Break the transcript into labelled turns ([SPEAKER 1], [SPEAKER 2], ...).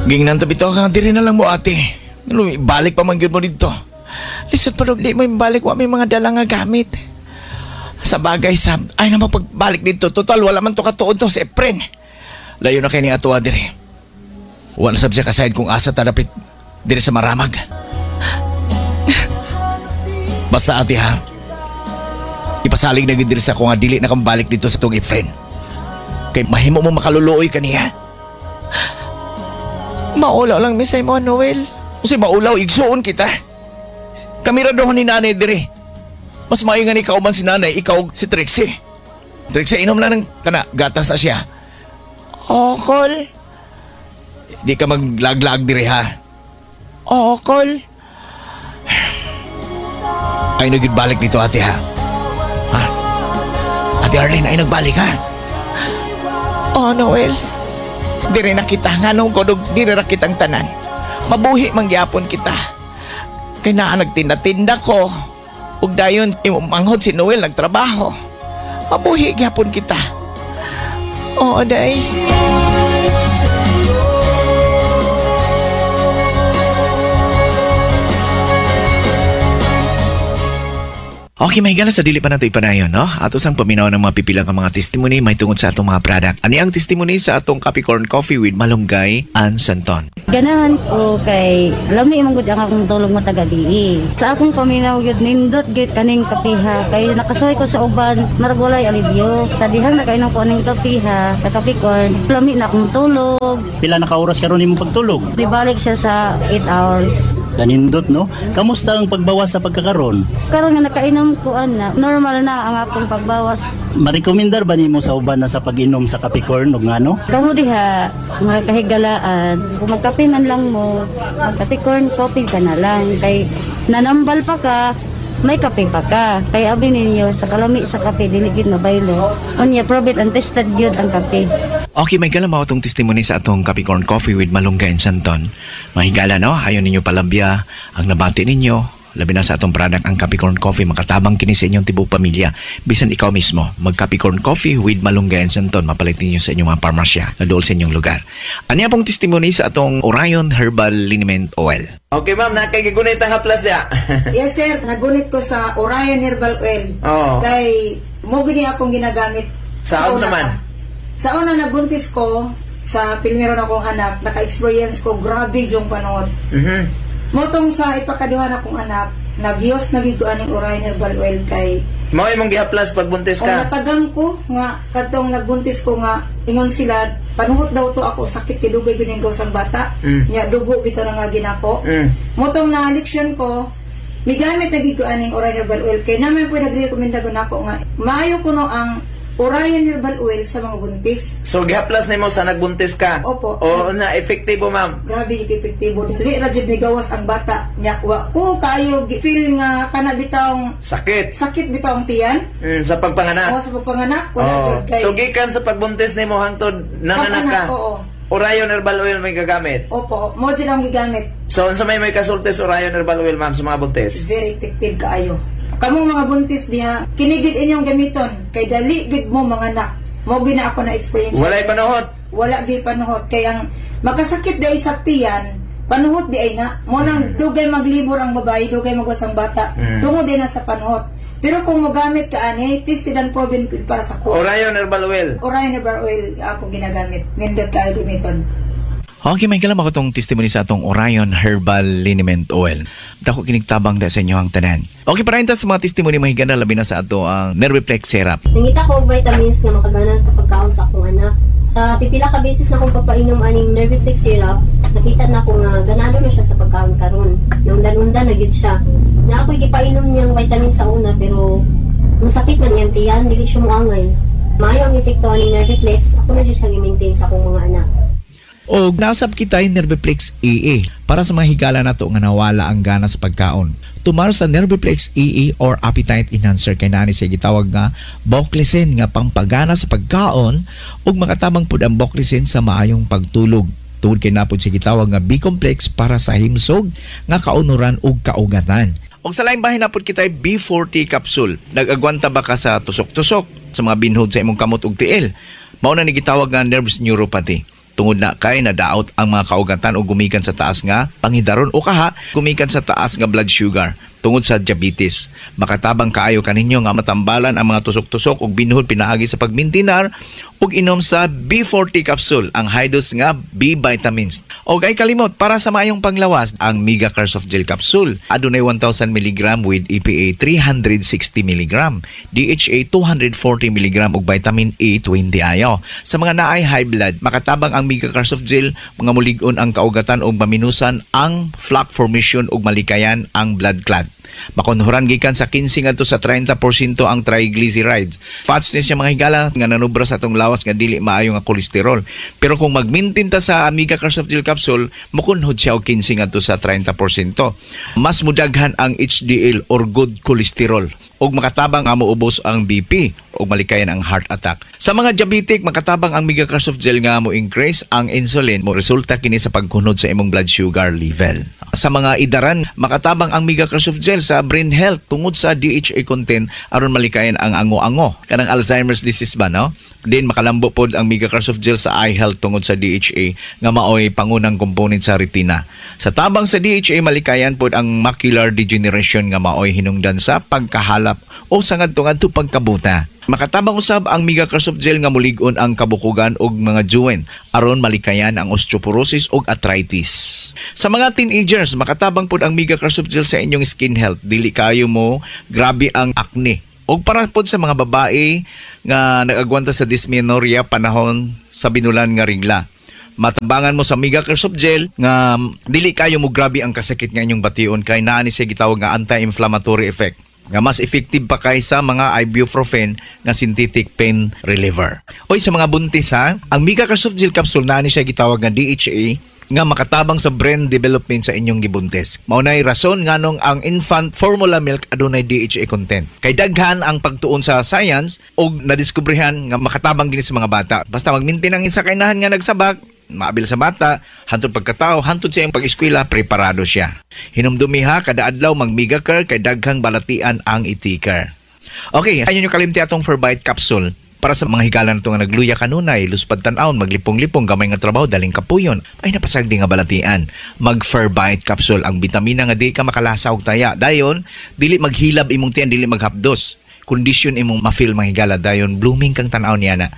[SPEAKER 1] Gingnan ta bitaw ka diri na lang mo, ate. Ano, balik pa man gyud mo dito. Lisod pa di mo balik, wa may mga dala nga gamit. Sa bagay sa ay na pagbalik dito. Total wala man to katuod to si Efren. Layo na kay ni atoa diri. Wa na sab siya kasayod kung asa ta dapit diri sa Maramag. Basta, ate, ha. Ipasalig na gyud diri sa ako nga dili na kang balik dito sa tong Efren. Kay mahimo mo makaluluoy kaniya. Maulaw lang mi sa imo, Noel. Unsay maulaw, igsuon kita. Kami ra doon ni nanay diri. Mas maayo nga ni kauban si nanay, ikaw si Trixie. Trixie, inom lang ng kana, gatas na siya. Okol. Di ka maglaglag diri ha. Okol. Ay nagbalik dito, ate, ha. Ha? Ate Arlene, ay nagbalik ha. Oh, Noel. Dire na kita nganong kodog dire ra kitang tanan. Mabuhi man gyapon kita. Kay naa nagtinda-tinda ko. Ug dayon imong manghod si Noel nagtrabaho. Mabuhi gyapon kita. Oo, day. Okay, mahigala sa dili pa nato ipanayon, no? Ato sang paminaw ng mga pipilang nga mga testimony may tungod sa atong mga product. Ani ang testimony sa atong Capricorn Coffee with Malunggay and Santon.
[SPEAKER 2] Ganahan ko kay lami man gud ang akong tulog matagabi. Sa akong paminaw gyud, nindot gyud kaning kapiha kay nakasuhay ko sa uban, marag walay alibyo. Sa dihang nakainom ko aning kapiha sa Capricorn, lami na akong tulog.
[SPEAKER 3] Pila na ka oras karon imong pagtulog?
[SPEAKER 2] Dibalik siya sa 8 hours.
[SPEAKER 3] Kanindot, no? Kamusta ang pagbawas sa pagkakaron?
[SPEAKER 2] Karon nga nakainom ko ana, normal na ang akong pagbawas.
[SPEAKER 3] Marekomendar ba nimo sa uban na sa pag-inom sa Capricorn og ngano?
[SPEAKER 2] Kamo diha, mga kahigalaan, kung magkape man lang mo, magka-Capricorn coffee ka na lang. Kay nanambal pa ka, may kape pa ka. Kay abi ninyo, sa kalami sa kape, dili gyud mabaylo. Unya, prove it and tested gyud ang kape.
[SPEAKER 1] Okay, may gala mao atong testimony sa atong Capricorn Coffee with Malunggay and Santon. Mahigala, no? Ayon ninyo palabya ang nabati ninyo. Labi na sa atong product ang Capricorn Coffee, makatabang kini sa inyong tibuok pamilya. Bisan ikaw mismo, mag Capricorn Coffee with Malunggay and Santon, mapalit ninyo sa inyong mga parmasya na dool sa inyong lugar. Aniya pong testimony sa atong Orion Herbal Liniment Oil.
[SPEAKER 4] Okay, ma'am, na kay gigunit ang haplas diya.
[SPEAKER 5] Yes sir, nagunit ko sa Orion Herbal Oil.
[SPEAKER 4] Oo.
[SPEAKER 5] Kay mo gini akong ginagamit.
[SPEAKER 4] Sa unsa
[SPEAKER 5] una
[SPEAKER 4] man?
[SPEAKER 5] pa. Sa una nagbuntis ko sa primero na kong anak, naka-experience ko grabe yung panahon. Motong sa ipakaduha na kong anak, nagyos nagiguan ng Orion Herbal Oil kay
[SPEAKER 4] Mao imong gihaplas pagbuntis
[SPEAKER 5] o
[SPEAKER 4] ka.
[SPEAKER 5] natagang ko nga kadtong nagbuntis ko nga ingon sila panuhot daw to ako, sakit kay dugay gyud ang gawas ang bata. Nya dugo bitaw na nga ginako. Motong na leksyon ko, migamit na gid ko aning Orion Herbal Oil kay naman po nagrekomenda ko nako nga maayo kuno ang Orion Herbal Oil sa mga buntis.
[SPEAKER 4] So gihaplas nimo sa nagbuntis ka.
[SPEAKER 5] Opo.
[SPEAKER 4] O na epektibo, ma'am.
[SPEAKER 5] Grabe yung epektibo. Dili ra jud migawas ang bata. Nya wa ko kaayo feel nga kana bitawng
[SPEAKER 4] Sakit.
[SPEAKER 5] sakit bitaw ang tiyan.
[SPEAKER 4] Sa pagpanganak.
[SPEAKER 5] O sa pagpanganak wala
[SPEAKER 4] Oo.
[SPEAKER 5] jud kay
[SPEAKER 4] So gikan sa pagbuntis nimo hangtod nanganak ka.
[SPEAKER 5] Pag-anak, oo.
[SPEAKER 4] Orion Herbal Oil may gagamit.
[SPEAKER 5] Opo, mo jud ang gigamit.
[SPEAKER 4] So unsa may kasulti sa Orion Herbal Oil, ma'am, sa mga buntis?
[SPEAKER 5] Very effective kaayo. Kamong mga buntis diha, kini gid inyong gamiton kay dali gid mo manganak. Mo gyud na ako na experience.
[SPEAKER 4] Walay panuhot.
[SPEAKER 5] Wala gyud panuhot kay ang makasakit di ay sa tiyan, panuhot di ay na. Mo nang dugay maglibor ang babae, dugay magwas ang bata. Tungod di na sa panuhot. Pero kung mogamit ka ani, tested and proven gud para sa ko.
[SPEAKER 4] Orion Herbal Oil.
[SPEAKER 5] Orion Herbal Oil ako ginagamit. Nindot kaayo gamiton.
[SPEAKER 1] Okay, may kalam ako tong testimony sa atong Orion Herbal Liniment Oil. Dako kinigtabang da sa inyo ang tanan. Okay, para sa mga testimony mahigana labi na sa ato ang Nerviplex Syrup.
[SPEAKER 6] Nangita ko og vitamins nga makaganan sa pagkaon sa akong anak. Sa pipila ka beses na akong pagpainom aning Nerviflex syrup, nakita na ko nga ganado na siya sa pagkaon karon. Naundan-undan na gyud siya. Na ako'y gipainom niyang vitamins sa una pero musakit man iyang tiyan, dili siya moangay. Maayo ang epekto aning Nerviflex, ako na jud siyang i-maintain sa akong mga anak.
[SPEAKER 1] O nasab kita yung Nerviplex EE para sa mga higala nato nga nawala ang gana sa pagkaon. Tumar sa Nerviplex EE or Appetite Enhancer kay nani siya gitawag nga Boclesen nga pampagana sa pagkaon ug makatabang pud ang Boclesen sa maayong pagtulog. Tungod kay napod siya gitawag nga B-complex para sa himsog nga kaunuran ug kaugatan. Og sa laing bahin napod kita B40 capsule. Nag-agwanta ba ka sa tusok-tusok sa mga binhod sa imong kamot ug tiil? Mao na ni gitawag nga nerves neuropathy. Tungod na kay nadaot ang mga kaugatan o gumikan sa taas nga panghidaron o kaha gumikan sa taas nga blood sugar tungod sa diabetes. Makatabang kaayo kaninyo nga matambalan ang mga tusok-tusok ug binuhod pinaagi sa pagmintinar ug inom sa B40 capsule, ang high dose nga B vitamins. Og ay kalimot, para sa maayong panglawas, ang Mega Soft Gel capsule adunay 1000 mg with EPA 360 mg, DHA 240 mg ug vitamin E 20 ayo. Sa mga naay high blood, makatabang ang Mega Soft Gel mga mulig-on ang kaugatan ug maminusan ang plaque formation ug malikayan ang blood clot. Makunhuran gikan sa 15 ngadto sa 30% ang triglycerides. Fats ni siya, mga higala, nga nanubra sa atong lawas nga dili maayo nga kolesterol. Pero kung mag-maintain ta sa Amiga Soft Gel capsule, mukunhod siya og 15 ngadto sa 30%. Mas mudaghan ang HDL or good cholesterol ug makatabang nga moubos ang BP ug malikayan ang heart attack. Sa mga diabetic, makatabang ang Mega Soft Gel nga mo increase ang insulin, mo resulta kini sa pagkunod sa imong blood sugar level. Sa mga idaran, makatabang ang Mega Soft Gel sa brain health tungod sa DHA content aron malikayan ang ango-ango kanang Alzheimer's disease ba, no? Din makalambo pod ang Mega Soft Gel sa eye health tungod sa DHA nga maoy pangunang component sa retina. Sa tabang sa DHA, malikayan pod ang macular degeneration nga maoy hinungdan sa pagkahalap o sa ngadto-ngadto pagkabuta. Makatabang usab ang Mega Soft Gel nga mulig-on ang kabukugan og mga joint aron malikayan ang osteoporosis ug arthritis. Sa mga teenagers, makatabang pod ang Mega Soft Gel sa inyong skin health. Dili kayo mo grabe ang acne. Og para pod sa mga babae nga nag-agwanta sa dysmenorrhea, panahon sa binulan nga regla. Matabangan mo sa Mega Soft Gel nga dili kayo mo grabe ang kasakit nga inyong bation kay naa ni siya gitawag nga anti-inflammatory effect nga mas effective pa kaysa mga ibuprofen nga synthetic pain reliever. Oy, sa mga buntis ha, ang Mega Soft Gel capsule, naa ni siya gitawag nga DHA nga makatabang sa brain development sa inyong gibuntis. Mao nay rason nganong ang infant formula milk adunay DHA content. Kay daghan ang pagtuon sa science ug nadiskubrehan nga makatabang gini sa mga bata. Basta magmintin ang isa kainahan nga nagsabak, maabil sa bata, hantod pagkatao, hantod sa iyang pag-eskwela, preparado siya. Hinumdumi ha, kada adlaw mag-Mega Care kay daghang balatian ang itikar. Okay, ayaw nyo kalimti atong Ferbite capsule para sa mga higala na ito nga nagluya kanunay, luspad tan-awon, maglipong-lipong, gamay nga trabaho, daling kapuyon, ay napasagdi nga balatian. Mag-Ferbite capsule, ang bitamina nga di ka makalasa og taya. Dayon, dili maghilab imong tiyan, dili maghapdos. Kondisyon imong ma-feel, mga higala, dayon blooming kang tan-aw niya na.